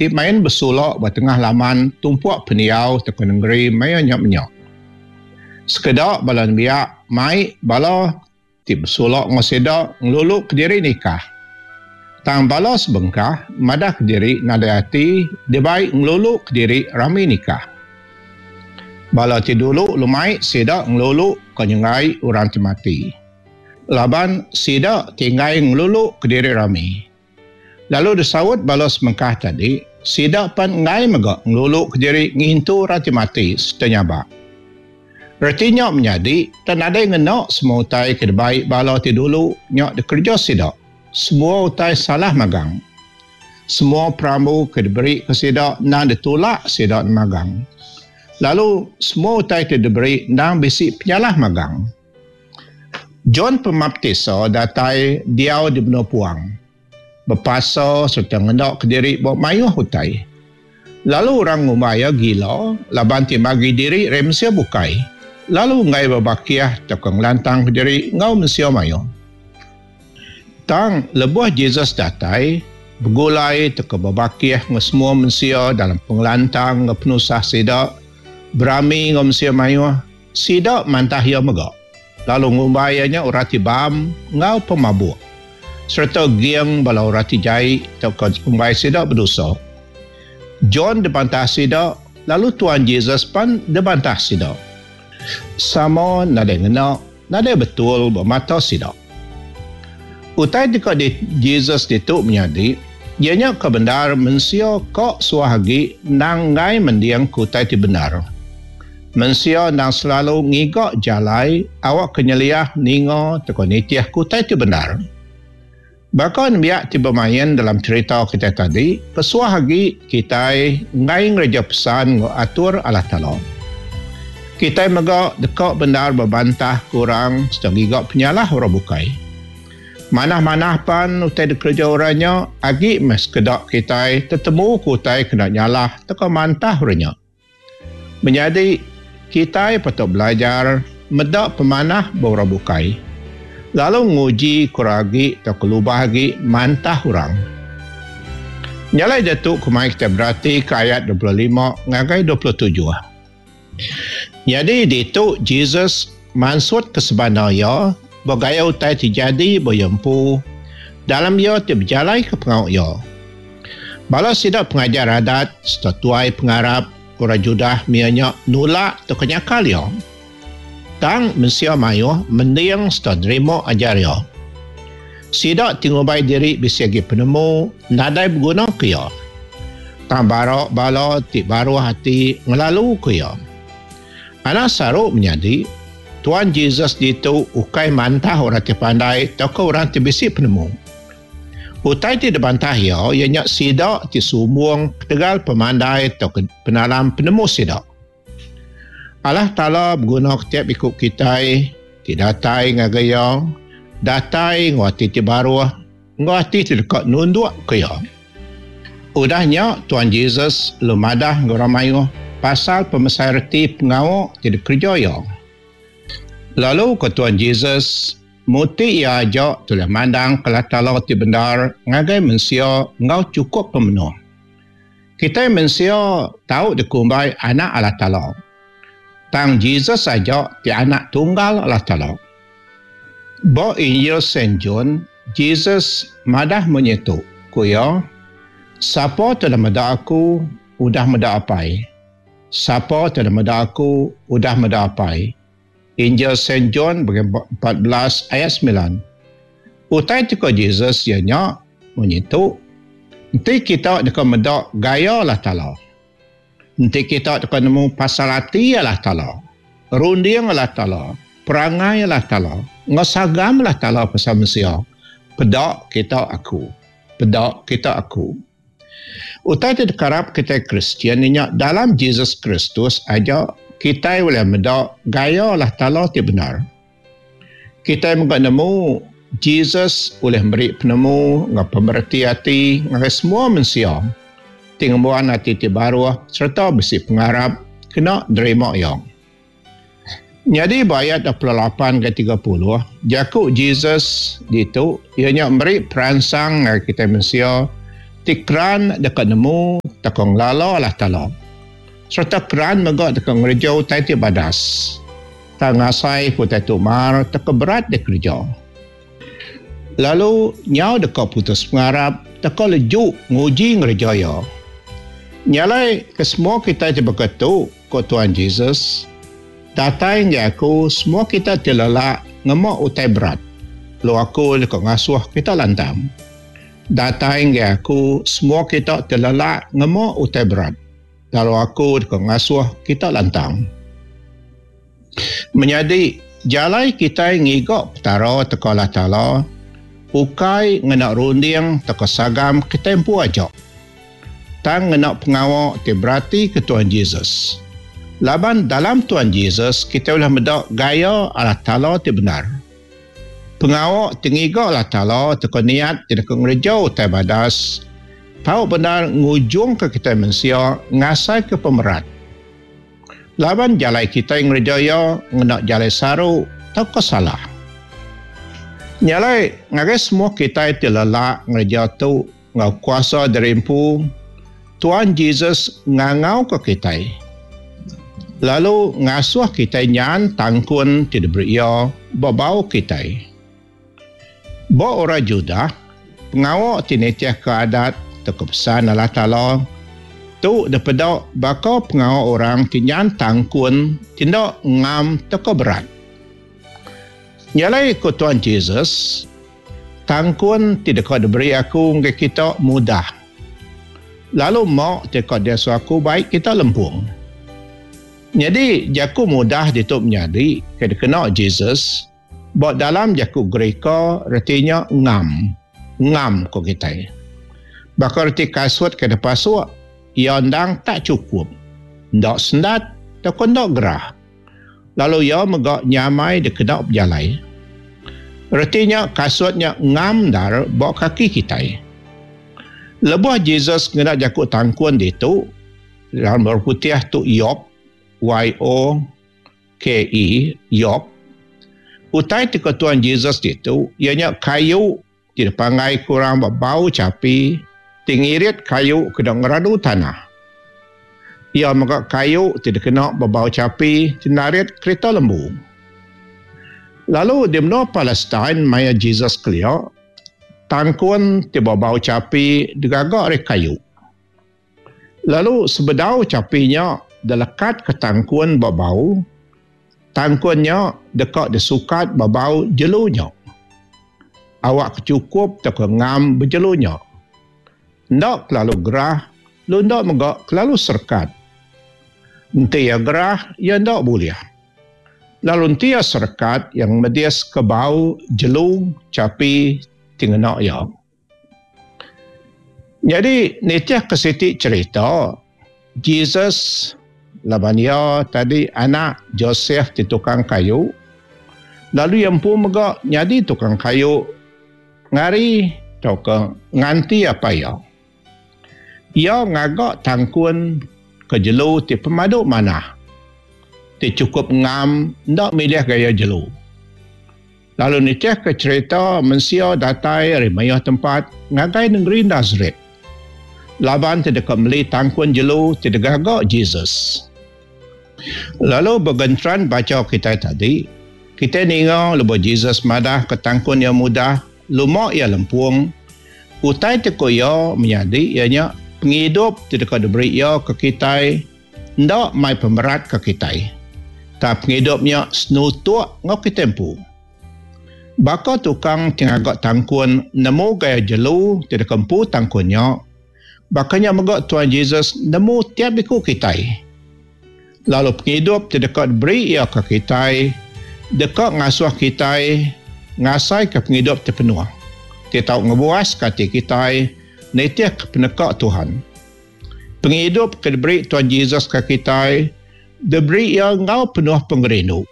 ti main besulok ba tengah laman tumpuk pendiau tauka nengeri maya nya menya. Sekeda bala nembiak mai bala ti besulok enggau sida ngelulu kediri nikah. Tang bala sebengkah madah kediri nadai ati dibai ngelulu kediri rami nikah. Bala ti dulu lumai sida ngelulu ka nyenggai orang ti mati. Laban sida ti enggai ngelulu kediri rami. Lalu disaut bala semengkah tadi, sida pan enggai mega ngelulu kediri ngintu orang ti mati sereta nyabak. Reti nya menyadi, tang nadai ngena semua utai ke dibai bala ti dulu nya dikereja sida. Semua utai salah magang. Semua perambu ke diberi ke sida endang ditulak sida magang. Lalu semua utai ti diberi endang bisi penyalah magang. John Pemaptisa datai diau di menua puang, bepasa sereta ngena kediri ba mayuh utai. Lalu orang ngumbai iya gila laban ti magi diri ari mensia bukai, lalu enggai bebakih tauka ngelantangka diri enggau mensia mayuh. Tang lebuh Jesus datai, begulai tauka bebakih enggau semua mensia dalam pengelantang enggau penusah sida, berami enggau mensia mayuh, Sida mantah iya mega, lalu ngumbai iya nya orang ti bam enggau pemabuk, sereta geng bala orang ti jai tauka dikumbai sida bedosa. John dibantah sida, lalu Tuan Jesus pan dibantah sida. Sama nadai ngena, nadai betul ba mata sida. Utai ti ka di Jesus ditu menyadi, iya nya ke bendar mensia ka suah agi endang enggai mending ke utai ti bendar. Mensia endang selalu ngiga jalai awakka nyeliah ninga tauka nitih ke utai ti bendar. Baka nembiak ti bemain dalam cherita kitai tadi, kesuah agi kitai enggai ngereja pesan enggau atur Allah Taala. Kitai mega deka bendar bebantah ke orang sereta ngiga penyalah orang bukai. Manah-manah pan utai dikereja orang nya, agi meh sekeda kitai tetemuka utai kena nyalah tauka mantah orang nya. Menyadi, kitai patut belajar meda pemanah ba orang bukai, lalu nguji kurang agi tauka lubah agi mantah orang. Nya alai diatu kumai kitai beratika ayat 25 ngagai 27. Nyadi ditu Jesus mansutka sebana iya ba gaya utai ti jadi ba iya empu dalam iya ti bejalaika pengawa iya. Bala sida pengajar adat sereta tuai pengarap orang Judah maya nya nulak tauka nyakal iya. Tang mensia mayuh mending sereta nerima ajar iya. Sida ti ngumbai diri bisi agi penemu nadai begunaka iya. Tang bara bala ti baruh ati ngelaluka iya. Anang saru menyadi, Tuan Jesus ditu ukai mantah orang ti pandai tauka orang ti bisi penemu. Utai ti dibantah iya, iya nya sida ti sumbung ketegal pemandai tauka penalam penemu sida. Allah Taala begunaka tiap iku kitai ti datai ngagai Iya, datai enggau ati ti baruh enggau ati ti deka nundukka Iya. Udah nya, Tuan Jesus lalu madah enggau orang mayuh pasal pemesai reti pengawa ti dikereja Iya. Lalu ku Tuan Jesus, Muti iya aja tulih mandang ke Allah Taala ti bendar ngagai mensia enggau chukup pemenuh. Kitai mensia tau dikumbai anak Allah Taala. Tang Jesus aja ti Anak Tunggal Allah Taala. Ba Injil Saint John, Jesus madah munyi tu, ku iya, Sapa ti udah meda aku, udah meda Apai. Sapa ti udah meda aku, udah meda Apai. Injil Saint John bagi 14 ayat 9. Utai ti ko Jesus iya nya munyi tu, Enti kita deka meda gaya Allah Taala, enti kita deka nemu pasal ati Allah Taala, runding Allah Taala, perangai Allah Taala, enggau sagam Allah Taala pasal mensia, peda kita aku. Peda kita aku. Utai ti dikarap kitai Kristian inya dalam Jesus Kristus aja kitai ulih meda gaya Allah Taala ti bendar. Kitai mega nemu Jesus ulih meri penemu enggau pemereti ati ngagai semua mensia ti ngembuan ati ti baruh sereta bisi pengarap kena nerima iya. Nyadi ba ayat 28 ngagai 30, jaku Jesus ditu iya nya meri peransang ngagai kitai mensia ti keran deka nemu tauka ngelala Allah Taala sereta keran mega deka ngereja utai ti badas. Tang ngasai ke utai tu mar tauka berat dikereja. Lalu nyau deka putus pengarap tauka leju nguji ngereja iya. Nya alai ke semua kitai ti baka tu, ku Tuan Jesus, Datai enggai aku semua kita ti lelak ngema utai berat, lalu aku deka ngasuh kita lantang. Datai enggai aku semua kita ti lelak ngema utai berat, lalu aku deka ngasuh kita lantang. Menyadi, jalai kitai ngiga Petara teka Allah Taala ukai ngena runding teka sagam kitai empu aja, tang ngena pengawa ti beratika Tuhan Jesus. Laban dalam Tuhan Jesus kitai ulih meda gaya Allah Taala ti bendar. Pengawa ti ngiga Allah Taala teka niat ti deka ngereja utai badas tau bendar ngujungka kitai mensia ngasaika pemerat. Laban jalai kitai ngereja iya ngena jalai saru tauka salah. Nya alai ngagai semua kitai ti lelak ngereja tu enggau kuasa diri empu, Tuan Jesus ngangauka kitai lalu ngasuh kitai nyan tangkun ti diberi iya ba bau kitai. Ba orang Judah, pengawa ti nitihka adat tauka pesan Allah Taala tu dipeda baka pengawa orang ti nyan tangkun ti enda ngam tauka berat. Nya alai ku Tuan Jesus, Tangkun ti deka diberi aku ngagai kita mudah, lalu ma ti deka diasuh aku bai kita lempung. Nyadi jaku mudah ditu menyadi ke dikena Jesus, Ba dalam jaku Gerika reti nya ngam. Ngam ku kitai. Baka reti kasut ke dipasuk, iya endang tak chukup. Enda sendat tauka enda gerah. Lalu iya mega nyamai dikena bejalai. Reti nya kasut nya ngam endar ba kaki kitai. Lebuh Jesus ngena jaku tangkun ditu, dalam Orang Putih tu yoke, Y-O. KE, Yok. Utai ti ke Tuan Jesus ditu iya nya kayu ti dipanggai ke orang ba bau chapi ti ngirit kayu kena ngeradu tanah. Iya mega kayu ti dikena ba bau chapi ti narit kerita lembu. Lalu di menua Palestine maya Jesus kelia, tangkun ti ba bau chapi digaga ari kayu. Lalu sebedau chapi nya dilekatka tangkun ba bau, tangkun nya deka disukat ba bau jelu nya. Awakka chukup tauka ngam bejelu nya. Enda kelalu gerah lalu enda mega kelalu serekat. Enti iya gerah, iya enda bulih. Lalu enti iya serekat, iya ngemediska bau jelu chapi ti ngena iya. Nyadi nitihka siti cherita, Jesus laban iya tadi anak Joseph ti tukang kayu, lalu iya empu mega nyadi tukang kayu ngari tauka nganti apai iya. Iya ngaga tangkun ke jelu ti pemadu manah, ti chukup ngam enda milih gaya jelu. Lalu nitihka cherita mensia datai ari mayuh tempat ngagai nengeri Nasaret laban ti deka meli tangkun jelu ti digaga Jesus. Lalu ba genteran bacha kitai tadi, kitai ninga lebuh Jesus madahka tangkun iya mudah, luma iya lempung, utai ti ku iya menyadi iya nya pengidup ti deka diberi iya ke kitai enda mai pemerat ke kitai. Tang pengidup nya senutuk enggau kitai empu. Baka tukang ti ngaga tangkun nemu gaya jelu ti deka empu tangkun nya, baka nya mega Tuan Jesus nemu tiap iku kitai. Lalu pengidup ti deka diberi iya ke kitai deka ngasuh kitai ngasaika pengidup ti penuh, ti tau ngebuaska ati kitai nitihka peneka Tuhan. Pengidup ke diberi Tuan Jesus ke kitai, diberi iya enggau penuh pengerindu.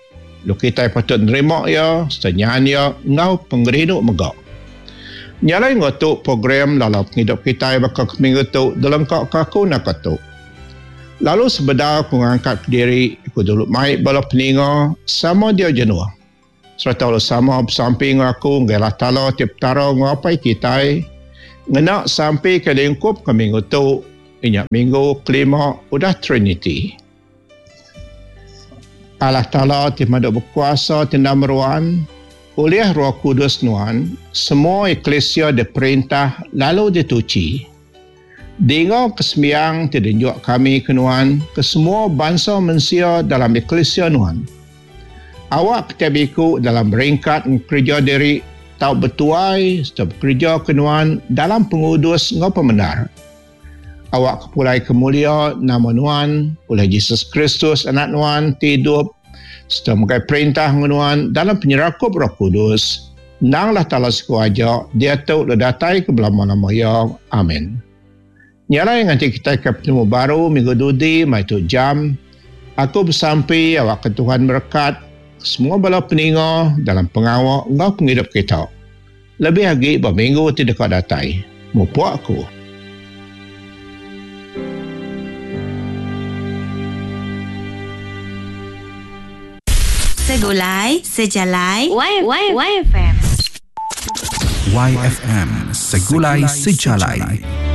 Lalu kitai patut nerima iya sereta nyan iya enggau pengerindu mega. Nya alai enggau tu program lalau pengidup kitai baka ke minggu tu dilengkaka aku naka tu. Lalu sebedau aku ngangkat kediri, aku dulu mai bala peninga sama diau jenuh sereta lalu sama besampi enggau aku ngagai Allah Taala ti Petara enggau Apai kitai ngena sampi ke diungkupka minggu tu. inya minggu kelima udah Triniti. Allah Taala ti pemadu bekuasa ti enda meruan, ulih Roh Kudus Nuan, semua eklisia diperintah lalu dituchi. Dinga ke sembiang ti dienjuk kami ke Nuan ke semua bansa mensia dalam eklisia Nuan. Awak ke tiap iku dalam beringkat enggau kereja diri tau betuai sereta bekereja ke Nuan dalam pengudus enggau pemendar. Awak ke pulai ke mulia nama Nuan, ulih Jesus Kristus Anak Nuan ti idup sereta megai perintah enggau Nuan dalam penyerakup Roh Kudus, endang Allah Taala siku aja, diatu lalu datai ke belama-lama iya. Amin. Nya alai nganti kitai ke betemu baru minggu dudi mai tu jam, aku besampi awak ke Tuhan merekat semua bala peninga dalam pengawa enggau pengidup kita. Lebih agi ba minggu ti deka datai. Mupuk aku. Segulai Sejalai YFM. YFM Segulai Sejalai.